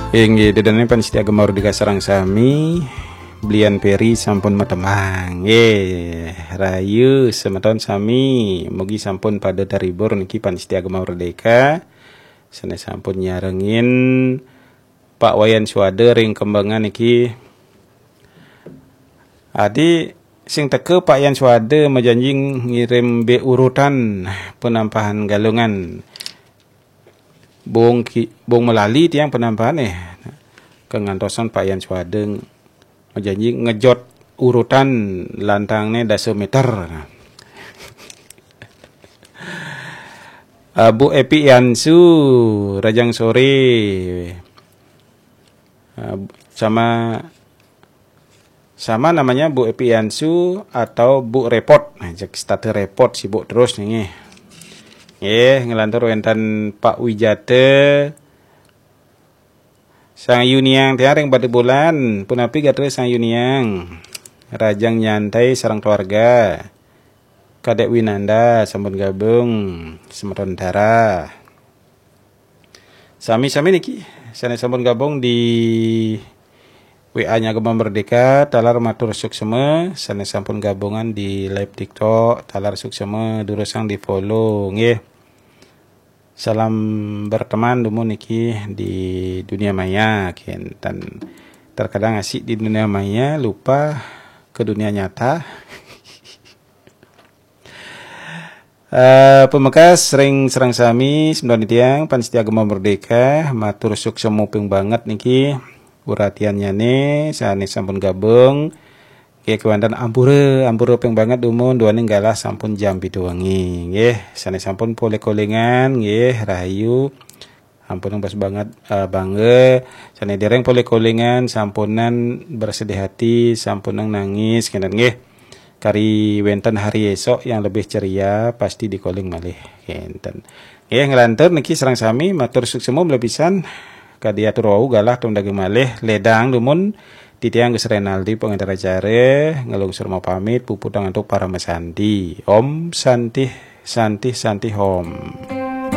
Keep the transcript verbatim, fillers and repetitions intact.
Inggih, ida dané pamiarsa Gema Merdeka sareng sami, Blian Peri sampun matembang. Nggih, rahayu semeton sami, mugi sampun pada terhibur niki pamiarsa Gema Merdeka. Sané sampun nyarengin Pak Wayan Suwada ring Kembangan niki. Adi sing teka Pak Yan Suwada majanji ngirim bé urutan penampahan Galungan. Bung ki, bung malali tiang penampahan eh. Kangantosan Pak Yan Suwada majanji ngejot urutan lantangné dasa meter. Ah, Bu Epi Yansu, rahajeng soré. Ah, sama sama namanya Bu Epi Yansu atau Bu Repot. Nah, cek starter repot sibuk terus nih. Nggih, nglantur wénten Pak Wijata. Sang Yuniang tiang ring Batu Bulan, punapi gatra Sang Yuniang? Rahajeng nyantai sareng keluarga. Kadek Winanda sampun gabung, semeton Dara. Sami-sami niki sané sampun gabung di W A-nya Gema Merdeka, taler matur suksema, sané sampun gabungan di live TikTok, taler suksema, durusang di-follow nggih. Salam berteman dumun niki di dunia maya, kénten. Terkadang asik di dunia maya, lupa ke dunia nyata. Eh, pamekas ring sareng sami, semeton tiang, pamiarsa Gema Merdeka, matur suksema ping banget niki, uratiannyané, sané sampun gabung, nggih, kéwanten ampura, ampura ping banget dumun, duaning galah sampun jam pitu wengi, nggih, sané sampun polih kolingan, nggih, rahayu, Ampun, pas banget, eh, bangga. Sané dereng polih kolingan, sampunang bersedih hati, sampunang nangis, kénten nggih. Kari wénten hari esok yang lebih ceria, pasti dikoling malih, kénten. Nggih, nglantur niki sareng sami, matur suksema malih pisan. Kadi atur wau galah tumdagang malih, ledang dumun, titiang Gus Renaldi, pengantar acara, nglungsur mapamit, puputang antuk parama santi. Om Santih, Santih, Santih Om.